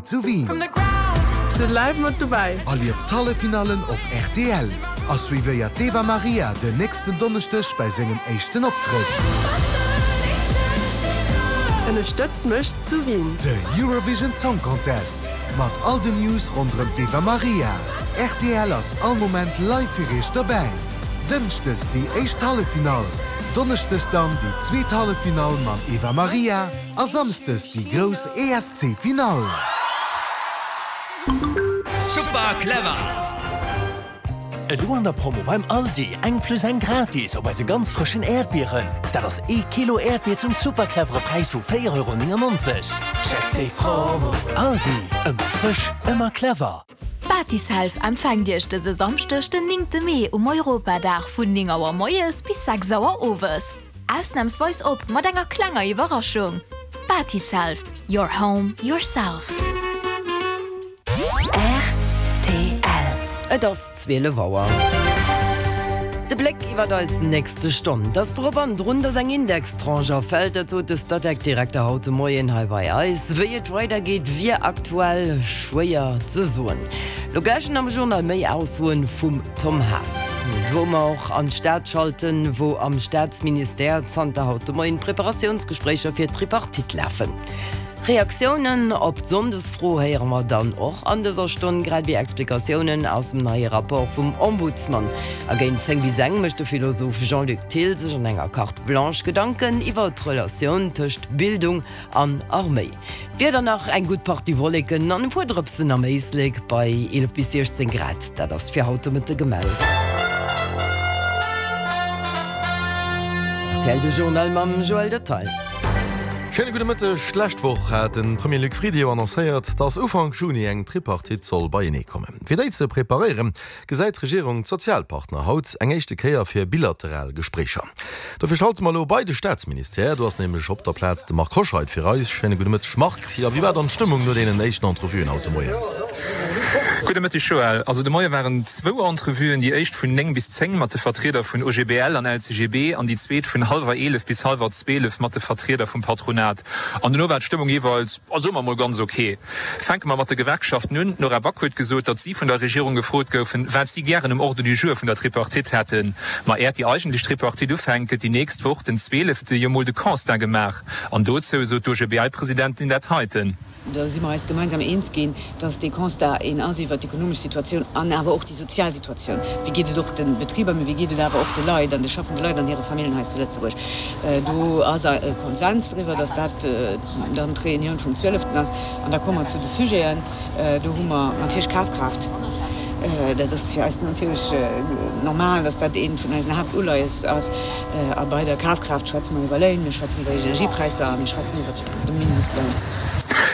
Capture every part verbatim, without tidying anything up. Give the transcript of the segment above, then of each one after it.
Zu Wien. Sidd live mat dobäi. Erlieft d'Halleffinallen op rtl a suivéiert d'Eva Marija den nächsten Donneschdeg bei sengem éischten Optrëtt. Ënnerstëtz mech zu Wien. De Eurovision Song Contest mat all den News ronderëm d'Eva Marija. Rtl ass all Moment live fir iech dobäi. Dënschdes déi éischt Halleffinall, Donneschdes dann déi zweet Halleffinall mam Eva Marija a Samsdes déi grouss ESC-Finall. Super clever! Elo an der Promo beim Aldi, eng plus eng gratis op eise ganz frëschen Äerdbieren. Dat ass ee Kilo Äerdbier zum super clevere Präis vu véier Euro néngennonzeg. Check déi Promo! Aldi, ëmmer frësch, ëmmer clever! Batiself empfänkt Iech dëse Samschdeg den néngte Mee um Europadag vun néng Auer moies bis sechs Auer owes. Ausnamsweis op mat enger klenger Iwwerraschung. Batiself, your home, yourself. Rtl. Et ass zwielef Auer. De Bléck iwwer eis nächste Stonn. Et ass drop an drun, dass eng Indextranche erfält, dat sot de Statec-Direkter haut de Moien hei bei eis. Wéi et weidergeet, wier aktuell schwéier ze soen. Lo gläich am Journal méi Aussoen vum Tom Haas. Wou mer och an d'Stad schalten, wou am Staatsministère zanter haut de Moien d'Preparatiounsgespréicher fir d'Tripartite lafen. Reaktiounen op d'Sonndesfro héiere mer dann och an dëser Stonn, grad ewéi Explikatiounen aus dem neie Rapport vum Ombudsman. A géint zéng bis eng mécht de Philosoph Jean-Luc Thill sech an enger Carte Blanche Gedanken iwwer d'Relatioun tëscht Bildung an Arméi. D'Wieder nach, eng gutt Partie Wolleken an e puer Drëpsen am Éislek bei eelef bis siechzéng Grad, dat ass fir haut de Mëtte gemellt. Rtl, de Journal mam Joël Detail. Schéine gudde Mëtteg. D'lescht Woch hat de Premier Luc Frieden jo annoncéiert, datt Ufank Juni eng Tripartite soll beienee kommen. Fir déi ze preparéieren, gesäit d'Regierung d'Sozialpartner haut eng éischte Kéier fir bilateral Gespréicher. Dofir schalte mer elo bei de Staatsministère. Do ass nämlech op der Plaz de Marc Hoscheid fir eis. Schéine gudde Mëtteg, Marc. Jo, wéi war dann d'Stëmmung no deenen éischten Entrevuen haut de Moien? Gudde Mëtteg, Joël. Also de Moie waren zwou Entrevuen, déi éischt vun néng bis zéng mat de Vertrieder vun O G B L an L C G B an déi zweet vun hallwer eelef bis hallwer zwielef mat de Vertrieder vum Patronat. An dono war d'Stëmmung jeeweils, soe mer mol, ganz ok. Fänke mer mat de Gewerkschaften un. D'Nora Back huet gesot, datt si vun der Regierung gefrot goufen, wat si gären um Ordre du jour vun der Tripartite hätten. Ma äert déi eigentlech Tripartite ufänkt, gëtt déi nächst Woch, den zwielefte, jo mol de Constat gemaach. An dozou sot d'O G B L-Presidentin dat heiten. Da si mer eis gemeinsam eens ginn, dass dee Constat een ass iwwert d'ekonomesch Situatioun an awer och déi sozial Situatioun. Wéi geet et och de Betriber, mee wéi geet et awer och de Leit an de schaffende Leit an hire Familljen hei zu Lëtzebuerg. Do ass e Konsens driwwer, dass dat dann d'Reunioun vum zwieleften ass. An da komme mer zu de Sujeten. Do hu mer natierlech Kafkraaft. Dat ass fir eis natierlech normal, dass dat eent vun eisen Haaptuleies ass. A bei der Kafkraaft schwätze mer iwwer Léin, mir schwätzen iwwer Energiepräisser a mir schwätzen iwwer de Mindestloun.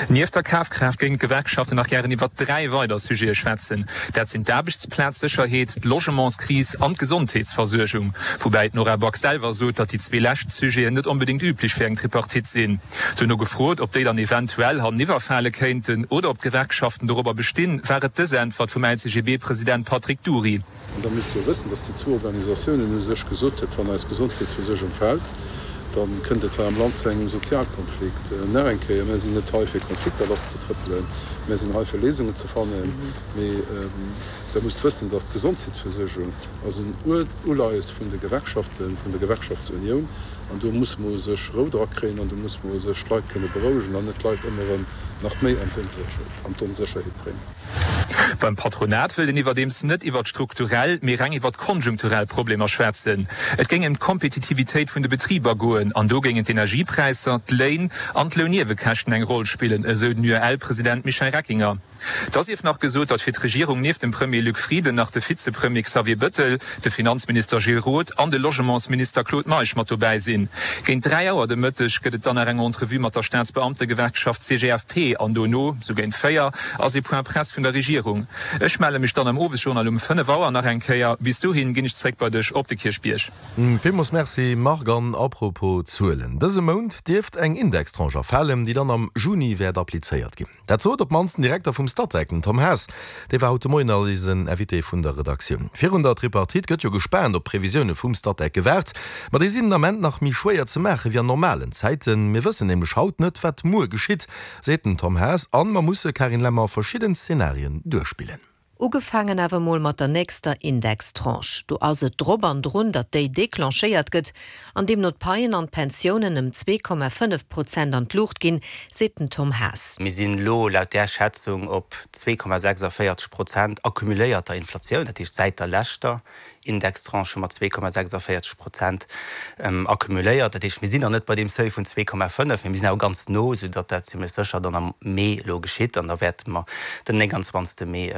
Nieft der Kafkraaft géingen d'Gewerkschaften nach gären iwwer dräi weider Sujete schwätzen. Dat sinn d'Aarbechtsplazsécherheet, d'Logementskris an d'Gesondheetsversuergung. Woubäi d'Nora Back selwer sot, datt déi zwee lescht Sujeten net onbedéngt üblech fir eng Tripartite sinn. Duerno gefrot, ob déi dann eventuell hanneniwwerfale kéinten oder ob d'Gewerkschaften dorobber bestinn, war et dës Äntwert vum L C G B-President Patrick Dury. An da musst Dir wëssen, datt déi zwou Organisatiounen u sech gesot huet, wann eis Gesondheetsversuergung fält, da kënnt et hei am Land zu engem Sozialkonflikt. Nach eng Kéier, Mär sinn net hei fir Konflikter lasszetrëppelen, mär sinn hei fir Léisungen ze fannen. Mee Der musst wëssen, datt d'Gesondheetsversuergung ass en Uleies vun de Gewerkschaften, vun der Gewerkschaftsunioun, an do musse mer u sech Rou dra kréien an do musse mer u sech d'Leit kënne berouegen an net d'Leit ëmmer erëm nach méi an d'Onsécherheet bréngen. Beim Patronat wëllt een iwwerdeems net iwwert strukturell, mee reng iwwert konjunkturell Problemer schwätzen. Et géing ëm d'Kompetitivitéit vun de Betriber goen an do géingen d'Energiepräisser, d'Léin an d'Lounniewekäschten eng Roll spillen, esou den U E L-President Michel Reckinger. Da sief nach gesot, datt fir d'Regierung nieft dem Premier Luc Frieden nach de Vizepremier Xavier Bëttel, de Finanzminister Gilles Roth an de Logementsminister Claude Meisch mat dobäi sinn. Géint dräi Auer de Mëtteg gëtt et dann nach eng Entrevue mat der Staatsbeamtegewerkschaft C G F P an dono, sou géint véier, ass ee Point Presse vun der Regierung. Ech melle mech dann am Owesjournal um fënnef Auer nach eng Kéier. Bis dohin ginn ech zréck bei dech op de Kierchbierg. Villmools Merci Marc. An apropos Zuelen, Dëse Mount dierft eng Indextranche erfalen, déi dann am Juni wäert applizéiert ginn. Dat sot op d'mannst den Direkter vum Statec, den Tom Haas. Dee war haut de Moien eisen Invité vun der Redaktioun. Virun der Tripartite gëtt jo gespaant op d'Previsioune vum Statec gewaart. Ma déi sinn den Ament nach méi schwéier ze maache wéi an normalen Zäiten. Mir wëssen nämlech haut net, wat muer geschitt, seet den Tom Haas. An mer musse, Carine Lemmer, verschidden Szenarien duerchspillen. Ugefaangen awer mol mat der nächster Indextranche. Do ass et drop an drun, datt déi declenchéiert gëtt, an deemno d'Paien an d'Pensiounen ëm zwee Komma fënnef Prozent an d'Luucht ginn, seet den Tom Haas. Mir sinn elo laut där Schätzung op zwee Komma sechsundvéierzeg Prozent accumuléierter Inflatioun, dat heescht säit der leschter Indextranche hu mer zwee Komma sechsundvéierzeg Prozent accumuléiert. Dat heescht, mir sinn nach net bei deem Seuil vun zwee Komma fënnef, mee mir sinn awer ganz no, soudatt dat zimlech sécher dann am Mee elo geschitt. An da wäerte mer den nénganzwanzegste Mee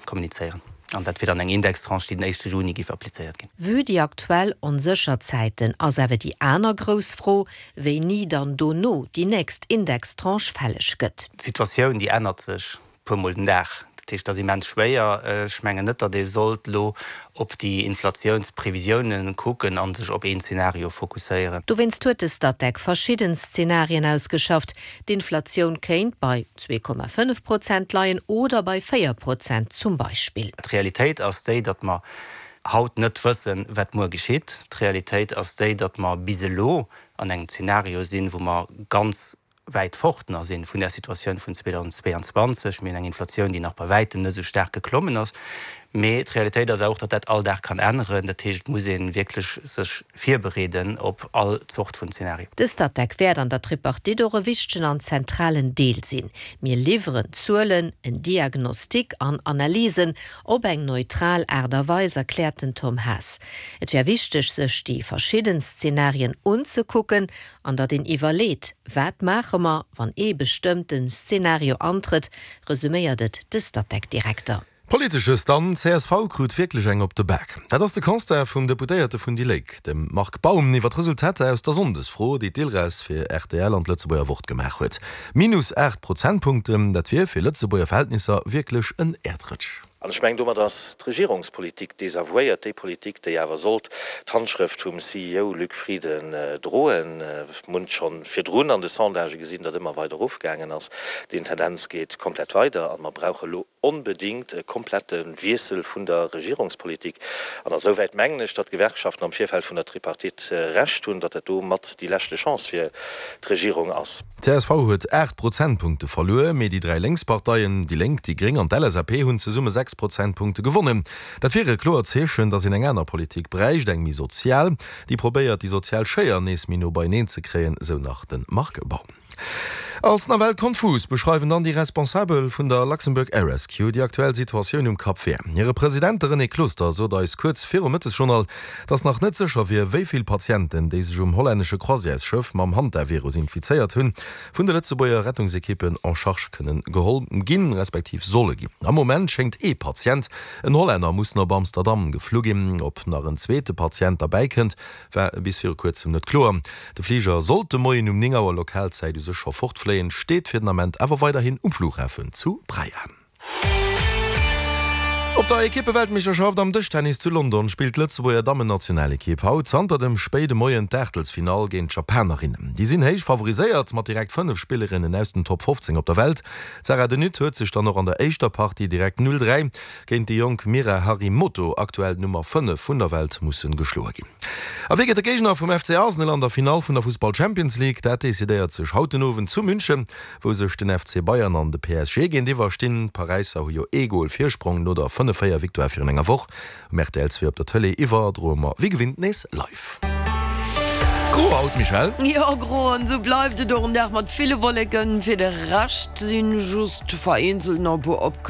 kommunizéieren. An dat wier dann eng Indextranche, déi den éischte Juni géif applizéiert ginn. Vue déi aktuell onsécher Zäiten ass awer déi aner grouss Fro, wéini dann dono déi nächst Indextranche fälleg gëtt. D'Situatioun, déi ännert sech puer Mol den Dag. Dat heescht, et ass immens schwéier. Ech mengen net, datt ee sollt elo op déi Inflatiounsprevisiounen kucken a sech op een Zeenario fokusséieren. Dowéinst huet de Statec verschidden Szenarien ausgeschafft. D'Inflatioun kéint bei zwee Komma fënnef Prozent leien oder bei véier Prozent zum Beispill. D'Realitéit ass déi, datt mer haut net wëssen, wat muer geschitt. D'Realitéit ass déi, datt mer bis elo an engem Zeenario sinn, wou mer ganz wäit fort nach sinn vun där Situatioun vun zweedausendzweeanzwanzeg. Mir hunn eng Inflatioun, déi nach bei wäitem net esou staark geklommen ass. Mee d'Realitéit ass och, datt dat all Dag kann änneren. Dat heescht, et muss ee wierklech sech virbereeden op all Zort vun Zeenario. De Statec wäert an der Tripartite och e wichtegen an zentralen Deel sinn. Mir liwweren Zuelen, en Diagnostic an Analysen op eng neutral Aart a Weis, erkläert den Tom Haas. Et wär wichteg, sech déi verschidden Szenarien unzekucken an datt een iwwerleet, Wat maache mer, wann ee bestëmmten Szenario antrëtt, resuméiert et de Statec-Direkter. Politesches dann, Csv krut wierklech eng op de Bak. Dat ass de Constat vum Deputéierte vun déi Lénk, dem Marc Baum, iwwer d'Resultater aus der Sonndesfro, déi d'Ilres fir rtl an d'Lëtzebuerger Wort gemaach huet. Minus aacht Prozentpunkten, dat wier fir Lëtzebuerger Verhältnisser wierklech en Äerdrëtsch. An ech mengen, domat ass d'Regierungspolitik desavouéiert, déi Politik, déi awer sollt d'Handschrëft vum C E O Luc Frieden droen. Mir hunn et scho virdrun an de Sondagë gesinn, datt ëmmer weider erofgaangen ass. Déi Tendenz geet komplett weider a mer brauche elo onbedéngt e komplette Wiessel vun der Regierungspolitik. An esouwäit mengen ech, datt d'Gewerkschaften am Virfeld vun der Tripartite Recht hunn, datt dat do mat déi leschte Chance fir d'Regierung ass. D'csv huet aacht Prozentpunkte verluer, mee déi dräi Lénksparteien, déi Lénk, déi Gréng an d'L S A P hunn zesumme sechs Prozentpunkte gewonnen. Dat wier e kloert Zeechen, datt een eng aner Politik bräicht, eng méi sozial, déi probéiert, déi sozial Schéier nees méi no beieneen ze kréien, sou nach de Marc Baum. Als nawell konfus beschreiwen dann déi Responsabel vun der Luxembourg Air Rescue déi aktuell Situatioun um Cap Vert. Hire President, de René Closter, sot eis kuerz virum Mëttesjournal, datt nach net sécher wier, wéi vill Patienten, déi sech um hollännesche Croisièresschëff mam Hantavirus infizéiert hunn, vun de Lëtzebuerger Rettungsekippen en charge kënnen geholl ginn, respektiv solle ginn. Am Moment schéngt ee Patient, en Hollänner, mussen op Amsterdam geflu ginn. Ob nach en zweete Patient derbäi kënnt, war bis viru kuerzem net kloer. De Fliger sollt de Moien um néng Auer Lokalzäit u sech scho fortfléien, steet fir den Ament awer weiderhin um Flughafen zu Praia. Op der Ekippeweltmeeschterschaft am Dëschtennis zu London spillt d'Lëtzebuerger Dammennationalekipp haut zanter dem spéide Moien d'Aachtelsfinall géint d'Japanerinnen. Déi sinn héich favoriséiert, mat direkt fënnef Spillerinnen aus den Top fofzéng op der Welt. D'Sarah de Nutte huet sech dann och an der éischter Partie direkt null dräi géint déi jonk Mira Harimoto, aktuell d'Nummer fënnef vun der Welt, musse geschloe ginn. A wie gëtt de Géigner vum F C Arsenal an der Finall vun der Fussball Champions League? Dat decidéiert sech haut den Owend zu München, wou sech den F C Bayern an de P S G géintiwwer stinn. D'Paräisser hu jo ee Gol Virsprong no der fënnef véier Victoire virun enger Woch. Um R T L zwee op der Tëlee iwwerdroe mer wéi gewinnt nees live. Gro haut, Michèle? Jo, gro an esou bleift et och en Dag mat ville Wolleken. Fir de Rescht sinn just vereenzelt nach e puer Opkläerungen.